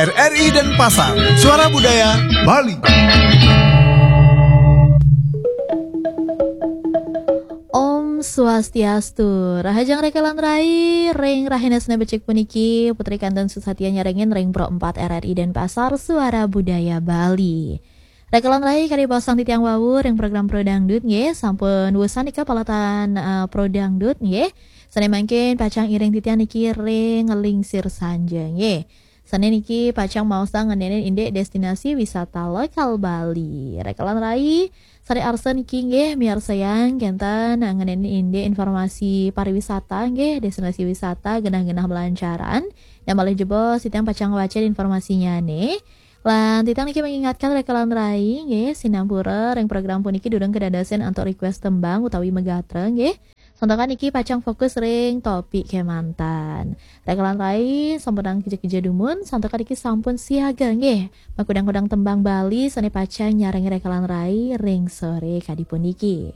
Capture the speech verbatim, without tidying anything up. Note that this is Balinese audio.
R R I Denpasar, Suara Budaya Bali. Om Swastiastu. Rahajeng rekelan rai, ring rahina Senin becik puniki, Putri Kanten Susatia nyarengin ring Pro empat R R I Denpasar, Suara Budaya Bali. Rekelan rai, kadi basang titiang wau ring program Pro Dangdut nggih, sampun wusan nika palatan eh, Pro Dangdut nggih. Sane mangkin pacang iring titiang niki ring nglingsir sanja nggih. Sane niki pacang maosang ngenenin indik destinasi wisata lokal Bali. Rekelan rai, sane arsa niki nggih miarsayang kenten ngenenin indik informasi pariwisata nggih, destinasi wisata genah-genah melancaran. Nah, malih jebos titiang pacang ngwacen informasinyane. Lan titiang niki mengingatkan rekelan rai nggih, sinampura ring program puniki durung kedadosen antuk request tembang utawi megatra nggih. Santukan niki pacang fokus ring topik kemanten. Rekelan rai sampunang kija-kija dumun, santukan niki sampun siaga nggih. Makudang-kudang tembang Bali sane pacang nyarengin rekelan rai ring sore kadi puniki.